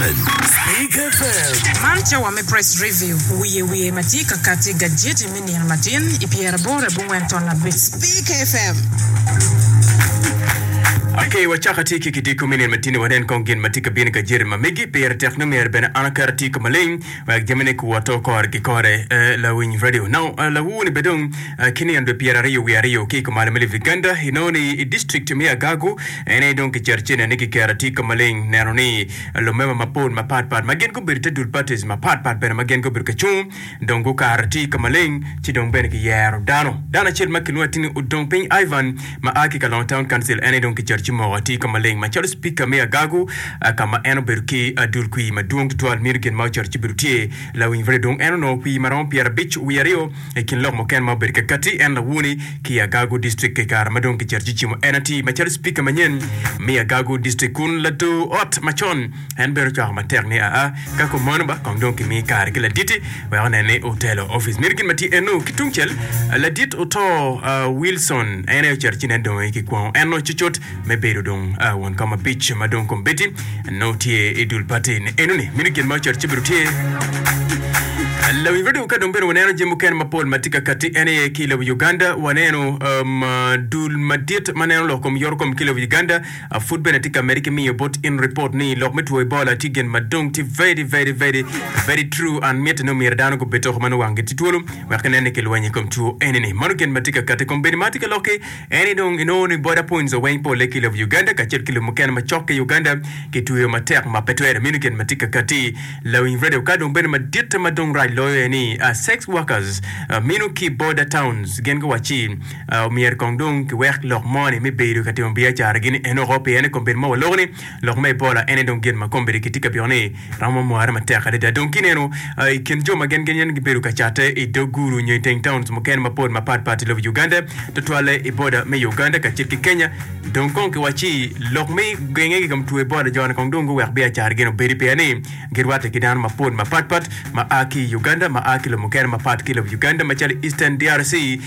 7. Speak FM. Man cawa me Press Review, wiye wiye ma tye ka kati i gajeti me nino matin i pyeraboro abongwen ton abic. Speak FM. Ok, wacako atir ki kidiko me nino matin-ni wanen kong gin ma tye ka bino i gajeti ma megi. Pire tek ni myero bene an aket atir ka maleng wek jamine kuwoto kore ki kore. Eh, lawiny radio. Now, eh, lawur-ni bene dong eh, ki nino dwe pyeraryo wiye aryo ki i kumalo me lobo Uganda, inongo ni i district me Agago en aye dong kicito ci nene kiketo atir ka maleng neno ni lumema mapol mapat pat ma gin gubedo te dul parties mapat pat bene ma gin gubedo ka cung dong gukato atir ka maleng ci dong bene kiyero dano. Dano acel ma kilwongo atir ni Odong Piny Ivan ma a ki Kalongo Town Council en aye dong kicito ci moko atir ka maleng macalo Speaker me Agago ka ma en obedo ki dul kwir madwong tutwal mito gin ma ocito ci bedo tye lawiny pire dong en onongo kwir maromo pyerabic wiye aryo I kin lok mukene ma obedo ka katti, en lawoni ki i Agago District i kare ma dong kicito ci cimo en atir macalo Speaker manyen me Agago District kun lador ot macon en bene ocwako matek ni aa ka kumano ba kong dong kimi kare ki laditi wek onen ni otelo ofice meno gin ma tye eno ki tungcel ladit oto Wilson en aye ocito ci nen dong aye kikwongo en nongo cucut me bedo dong won kom abic ma dong kombeddi nongo tye i dul pati ni enoni meno gin ma ocito ci bedo tye Lawiny radio ka dong bene waneno jami mukene mapol ma tye ka katti en aye ki i lobo Uganda waneno um, dul madit ma neno lok kom yoto kom ki i lobo Uganda uh, pud bene tye ka medde ki miyo bot in report ni lok me two Ebola tye gin ma dong tye very very very very true and mitte ni omyero dano gubed toko ma nongo wanggi tye twolo wek ginen ni kilwenyo i kom two enini. Mano gin ma tye ka katti kombeddi ma atye ka lok-ki En aye dong inongo ni boda points weng pole ki i lobo Uganda kacel ki lobo mukene macok ki Uganda kitweyo matek ma pe twere meno gin ma tye ka kati lawiny radio ka dong bene maditte ma dong rac loyo aye ni sex workers meno ki boda towns gin guwacci omyero kong dong kiwek lok moni me bedo ka timo biacara gi ni enoko pien i kom bedo ma waloko ni Lok me Ebola en aye dong gin ma kombeddi kitye ka byeko ni romo mware matek adada. Dong kineno i kin jo ma gin ginyen gibedo ka catte i dog guru nyo i teng towns mukene mapol mapat pat i lobo Uganda, tutwalle i boda me Uganda kacel ki Kenya. Dong kong kiwacci lok me genge ki kom two Ebola jo-ni kong dong guwek biacara gin obedi pien ni girwatte ki dano mapol mapat pat ma a ki i Uganda ma a ki lobo mukene mapat ki lobo Uganda macalo Eastern DRC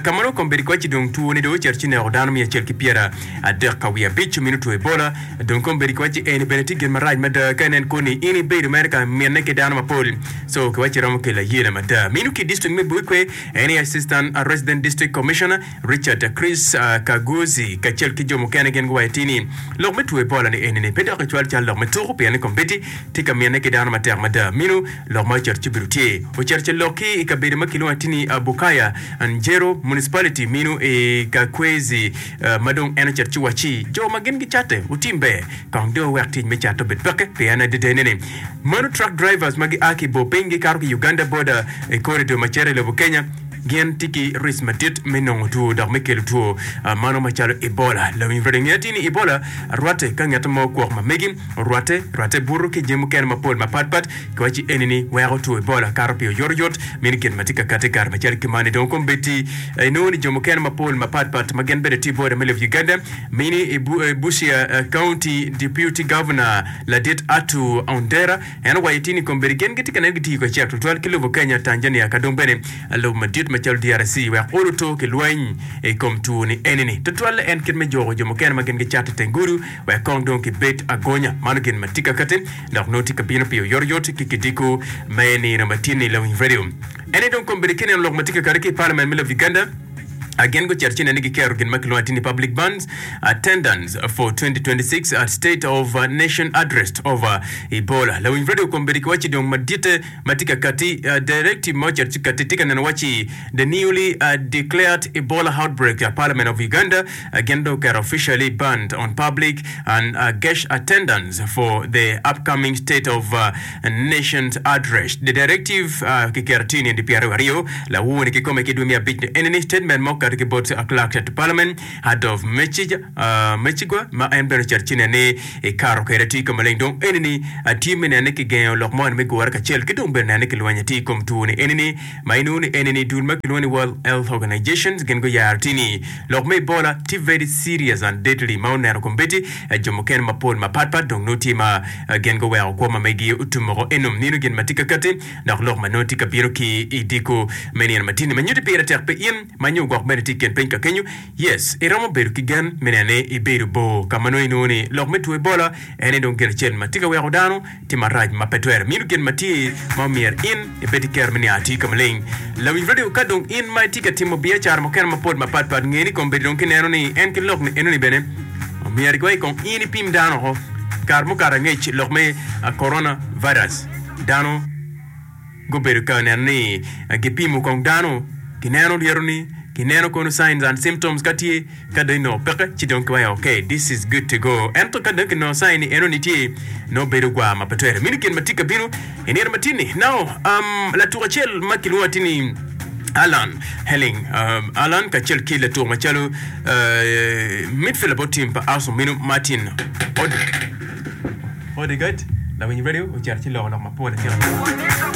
ka ma nongo kombeddi kiwacci dong two-ni dong ocito ci neko dano miya acel ki pyera adek ka wiye abic omino two Ebola. Dong kombeddi kiwacci eni bene tye gin marac mada ka inen koni in ibedo mere ka minne ki dano mapol so kiwacci romo kelo ayela mada. Mino ki district me Buikwe en aye Assistant Resident District Commissioner Richard Chris Kaguzi kacel ki jo mukene gin guwaco atir ni lok me two Ebola ni eni ni pe dok ecwal cal lok me tuku pien ni kombeddi tye ka minne ki dano matek mada. Mino lok ma ocito ci obedo tye ocito ca lok ki i kabedo ma kilwongo atir ni Bukaya Njeru Municipality mino i Kakwezi Ma dong en ocito ci wacci, Jo ma gin gicatte, wutim ber, kong dong wuwek tic me catte obed peke, pien adadane ni mano truck drivers ma gia ki i bor piny gikato ki Uganda border i corridor ma cito i lobo Kenya gin tye ki risk madit me nongo two dok me kelo two mano macalo Ebola. Lawiny Fred ngeyo atir ni Ebola rwatte ka ngat mo kwok ma megi orwatte, rwatte buto ki jami mukene mapol mapat pat. Kiwacci eni ni weko two Ebola kato pi oyotoyot, meno gin ma tye ka kati kare macalo ki mani. Dong kombeddi inongo ni jo mukene mapol mapat pat ma gin bene tye i boda me lobo Uganda mini i Busia County Deputy Governor ladit Arthur Ondera en owaco tye ni kombeddi gin gitye ka neno gitiyo kacel tutwal ki lobo Kenya, Tanzania ka dong bene lobo madit macalo DRC wek olo to ki lweny i kom two ni eni ni tutwalle en kit me juko jo mukene ma gin gicato i teng gudo wek kong dong gibed agonya. Mano gin ma tye ka kati. Dok nongo tye ka bino pi oyotoyot ki kidiko me nino ma tye ni Lawiny Radio. En aye dong kombeddi ki neno lok ma tye ka kati ki i Parliament me lobo Uganda, gin gucito ci nene giketo gin ma kilwongo atir ni Public Bans Attendance for 2026 at State of Nation Address over Ebola. Lawiny Radio kombeddi kiwacci dong maditte ma tye ka kati, directive ma ocito ci kati tye ka neno wacci The newly declared Ebola outbreak Parliament of Uganda gin dong oketo officially banned on public and guest attendance for the upcoming State of Nations Address. The directive kiketo tye nino 22 lawur-ni kikome ki dwe me abic ni enini statement ma okato ki bot Clerk to Parliament Adolf Mechigwa ma en bene ocito ci nene ni ikato kwede atir ka maleng dong enini tye me nene kigengo lok moni me gure kacel ki dong bene nene kilwenyo atir i kom two ni enini Ma inongo ni eni ni dul ma kilwongo ni World Health Organization gin guyaro tye ni lok me Ebola tye very serious and deadly ma oneno kombeddi jo mukene mapol mapat pat dong nongo tye ma gin guweko kwo ma megi otum woko enum nino gin ma tye ka kati dok lok ma nongo tye ka bino ki i diko me nino matini ma nyuti pire tek pi in ma nyo gwok bene. bene tye i kin piny ka kenyo. Yes, iromo bedo ki gen me neno ni ibedo bor ka ma nongo inongo ni lok me two Ebola en aye dong gin acel ma tye ka weko dano tye marac ma pe twere. Mino gin ma tye ma omyero in ibed ki kero me niang atir ka maleng. Lawiny radio, ka dong in ma itye ka timo biacara mukene mapol mapat pat, nge ni kombeddi dong kineno ni en ki lok ni enoni bene omyero igoye kong in ipim dano oko. Kare mukato angec lok me corona virus dano gubedo ka neno ni gipimo kong dano, kineno lyetoni, kineno kono signs and symptoms ka tye, ka dong inongo peke ci dong kiwaco ok this is good to go. Ento ka dong kinongo sign ni enoni tye, nongo bedo gwar ma pe twere. Meno gin ma tye ka bino i nino ma tye-ni. Now, um, latuk acel ma kilwongo atir ni Alan Helling, um, Alan kacel ki latuk macalo uh, midfielder bot team pa Arsenal meno Martin Odegaard, lawiny radio ocito ci loko lok mapol atika.